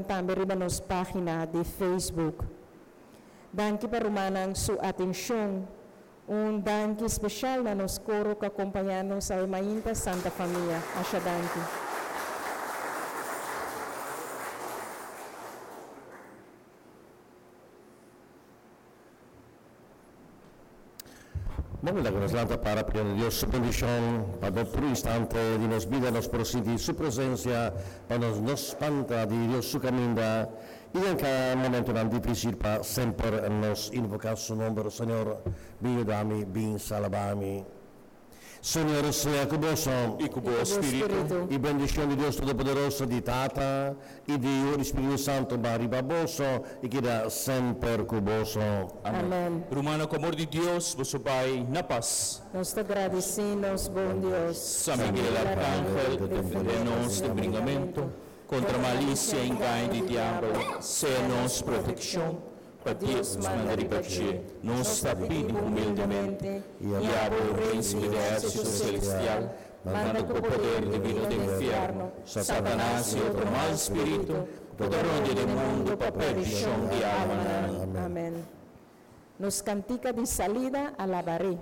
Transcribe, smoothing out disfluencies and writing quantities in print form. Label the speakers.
Speaker 1: Tambe riba nos página di Facebook. Danki pa rumannan su atenshon. Un danki spesial na nos koro ku a kompañá nos awe mainta, Santa Famia. Masha danki.
Speaker 2: Bon, laga nos lanta para pidiendo Dios su bendishon pa den tur instante di nos bida nos por sinti su presensia, pa nos no spanta di Dios su kaminda i den kada momentonan difísil pa semper nos invoká su nomber, Señor, bin yuda mi, bin salba mi. Señor sea ku boso.
Speaker 3: I ku bo spiritu.
Speaker 2: I bendishon di Dios Todopoderoso, di Tata, i di Yu, i di Spiritu Santu ba riba boso i keda semper ku boso.
Speaker 1: Amen.
Speaker 3: Rumannan, ku amor di Dios, boso bai na pas.
Speaker 1: Nos ta gradisí nos bon Dios.
Speaker 3: San Miguel Arcángel, defendé nos den bringamentu kontra malisia i engaño di diabel. Sea nos protekshon. Pa Dios manda riba dje, nos ta pidi humildemente, I abo, Príncipe di ehérsito celestial, manda ku poder divino den infierno Satanas i otro mal spiritu ku ta rondia den mundu pa perdishon di almanan.
Speaker 1: Amen. Nos kantika di salida, Alabaré.